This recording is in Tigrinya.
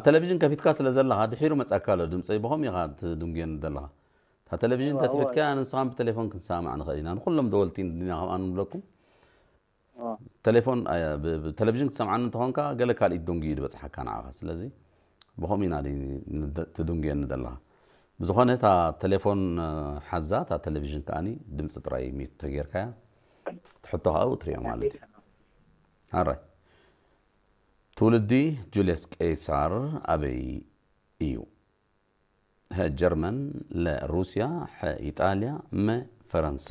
ቴሌቪዥን ከፊትካ ስለ ዘለኻ ድሒሩ መጻካ ኣሎ ድምፀይ። ብኸም ኢኻ ትድንጉየኒ ዘለኻ? እታ ቴሌቪዥን ተትሕትካ ንስኻን ብቴሌፎን ክንሰማማዕ ንኽእል ኢና። ንኩሎም ደወልቲ እንዲና ከምኣ ንብለኩም። ቴሌፎን ብቴሌቪዥን ክትሰምዓኒ እንተኾንካ ገለ ካልኢት ደንጉዩ ዝበፅሓካ ንዓኻ። ስለዚ ብኸም ኢና ትድንጉየኒ ዘለኻ? ብዝኾነ እታ ቴሌፎን ሓዛ፣ እታ ቴሌቪዥን ከኣ ድምፂ ጥራይ ሚት ተጌርካያ ትሕቶ ከኣ ትሪኦ ማለት እዩ። ኣራይ ትውልዲ ጁልየስ ቄሳር ኣበይ እዩ? ሀ ጀርመን፣ ለ ሩስያ፣ ሐ ኢጣልያ፣ መ ፈረንሳ።